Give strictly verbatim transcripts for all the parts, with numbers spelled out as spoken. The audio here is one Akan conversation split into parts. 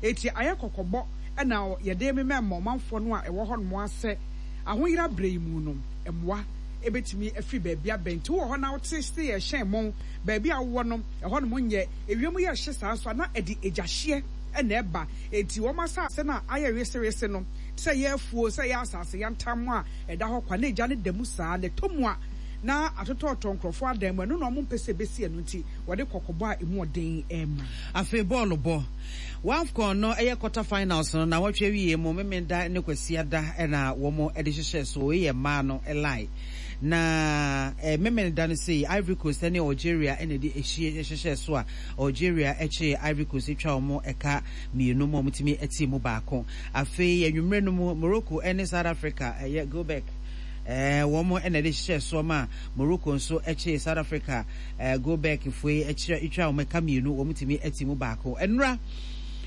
Enti ayɛ kɔkɔbɔ na yɛde remema ɔmanfoɔ no a ɛwɔ hɔnom asɛ ahoyera berɛ yi mu no, mmoa bɛtumi afiri baabi aba. Nti wowɔ hɔ na wote se yɛrehyɛn mmɔn, baabi a wowɔ no, ɛhɔnom nyɛ ewiem yɛ hye saa nso a, na ɛde egyahyeɛ na ɛba. Enti wɔn asase no a ayɛ wesewese no, sɛ ɛyɛ afuo, sɛ ɛyɛ asase yantam a ɛda hɔ kwa, na egya no da mu saa, na ɛtɔ mu a, na atotɔtotɔ nkurɔfoɔ adan mu. Ɛno na wɔmpɛ sɛ ɛbɛsi, ɛno nti wɔde kɔkɔbɔ a emu ɔden rema. Afei bɔɔlo bɔ. WAFCON no ɛyɛ quarter finals no na wɔtwe awie mu Memenda ne Kwasiada na wɔn de hyehyɛ so. Wei yɛ mmaa no line na eh, Memenda no sei Ivory Coast ne Algeria na ɛde ahyie hyehyɛ so a Algeria kyee Ivory Coast atwa wɔn ɛka mmienu mu a wɔtumi te mu baako. Afei anwummerɛ no mu, Morocco ne South Africa, ɛyɛ Gobek, eh, wɔn na ɛde hyehyɛ soɔ ma Morocco nso kyee South Africa, eh, Gobek foe kyerɛ atwa wɔn ɛka mmienu, wɔn tumi te mu baako. Ɛnora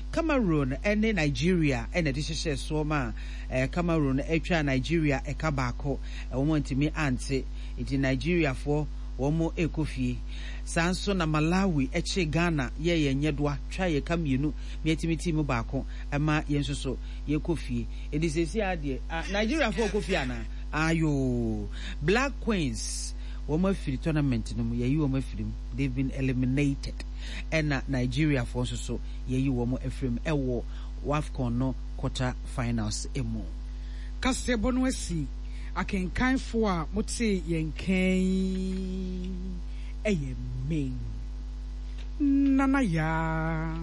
Cameroon ne Nigeria na ɛde hyehyɛ soɔ ma eh, Cameroon atwa Nigeria ɛka baako, wɔn ntumi ante, nti Nigeriafoɔ wɔn rekɔ fie. Saa nso na Malawi kyee Ghana yɛɛ yɛn nyɛdoa twa yɛ ka mmienu ma yɛtumi tii mu baako ma yɛn nso so yɛkɔ fie. Enti seesei ara deɛ, ah, Nigeriafoɔ rekɔ fie anaa? Ayoo. Black Queens, wɔn afiri tournament no mu, yɛayi wɔn afiri mu. They've been eliminated. Ɛna Nigeriafoɔ nso so yɛayi wɔn afiri mu ɛwɔ WAFCON no quarter finals mu. Kaseɛbɔ no asi. Akenkanfo a motee yɛn nka yi yɛ me, Nana Yaa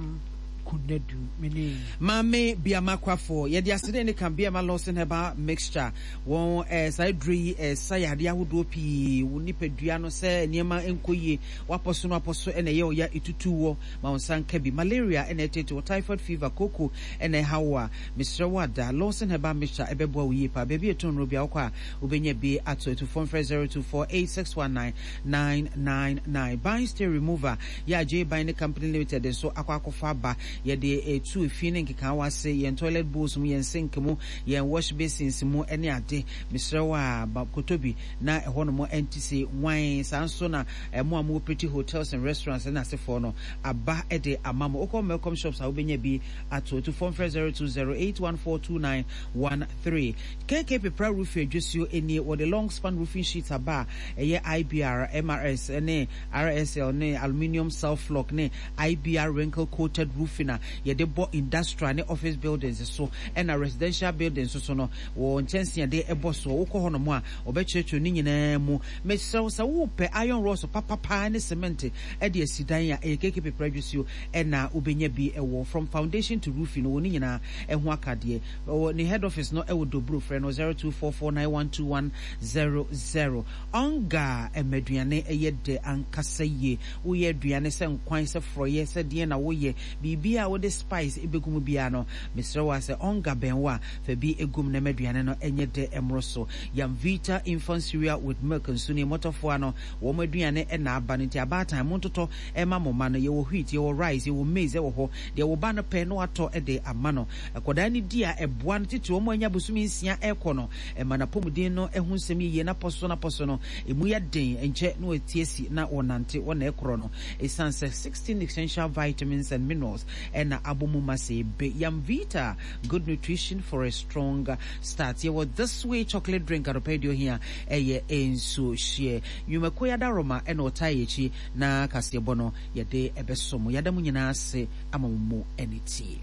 Konadu, me ne. Maame Biama Kwafo, yɛde aseda ne ka Biama Lawson Herbal Mixture. Wɔn eh, saa aduro yi ɛsa eh, yadeɛ ahodoɔ pii wo nipadua no sɛ nneɛma nkɔ yie, wapɔ so no apɔ so ɛna ɛyɛ ɔya etutu wɔ ma wo nsa nka bi. Malaria ɛna ɛtete wɔ, typhoid fever, koko ɛna ɛha wo a, mesrɛ wo ada Lawson Herbal Mixture ɛbɛboa wo yie paa. Baabi a ɛtɔn nnuro biara wokɔ a wobɛnya bi ato. Atufoɔ mfrɛ zero two four eight six one nine nine nine nine. Ban Stain Remover yɛ a J Ban ne Company Limited nso akɔ akɔfa aba. Yɛde etu efi ne nkekaawa ase, yɛn toilet bowls mu, yɛn sink mu, yɛn wash basins mu ne ade. Mesrɛ wo a, ba kɔtɔ bi na ɛhɔnom ɛnte se nwan. Saa nso na mo a mowɔ pretty hotels and restaurants ne asefoɔ no, aba de ama mo. Wokɔ Melcom shops a wobɛnya bi ato. Atufoɔ mfrɛ zero two zero eight one four two nine one three. K K Pepra Roofing adwasuo nie. Wɔde long span roofing sheets aba a ɛyɛ I B R, M R S ne R S L ne aluminium self flock ne I B R wrinkle coated roofing a yɛde bɔ industrial ne office buildings so ɛna residential buildings so no wɔ nkyɛnsee yɛde ɛbɔ soɔ. Wokɔ hɔnom a wɔbɛkyerɛkyerɛ ne nyinaa mu. Mesrɛ wo, sɛ wopɛ iron rods papapaa ne cement ɛde asi dan a, ɛyɛ K K Pepra adwasuo ɛna wobɛnya bi ɛwɔ. From foundation to roofing no, wɔ ne nyinaa ɛho akadeɛ. Ɔwɔ ne head office no ɛwɔ Dobro. Frɛ no zero two four four nine one two one zero zero. Ɔnga ɛmɛduane ɛyɛ dɛ ankasa yie. Woyɛ aduane sɛ nkwan, sɛ forɔyɛ, sɛ deɛ na woyɛ biribi a wode spice ɛbɛgu mu biara no, mesrɛ wo a sɛ ɔnga bɛn wo a, fa bi ɛgum na maduane no ɛnyɛ dɛ ɛmmoro so. Yamvita infant cereal with milk nso ne mmɔtɔfoɔ no wɔn aduane ɛna aba no, nti abaatan montotɔ ɛma mo ma no. Yɛwɔ wheat, yɛwɔ rice, yɛwɔ maize ɛwɔ hɔ. Deɛ wo ba no pɛ na watɔ ɛde ama no. Akwadaa no di a, ɛboa no titiri wɔn anya bosome nsia ɛrekɔ no, ɛma n'apɔmuden no ɛho nsɛm yie n'apɔ so n'apɔ so no emu yɛ den, nkyɛ na wɔtie si na wɔnante wɔna ɛkorɔ no, ɛsiane sɛ sixteen essential vitamins and minerals ɛna abɔ mu ma sɛ ebe. Yamvita, good nutrition for a strong start. Yɛwɔ This Way chocolate drink. Anɔpɛ deɛ ohia ɛyɛ nsuo hyeɛ. Nnwumakuo yadaroma ɛna ɔtaa yɛ akyi na kaseɛbɔ no yɛde ɛbɛso mo. Yɛada mo nyinaa ase ama mo mu ɛne tie.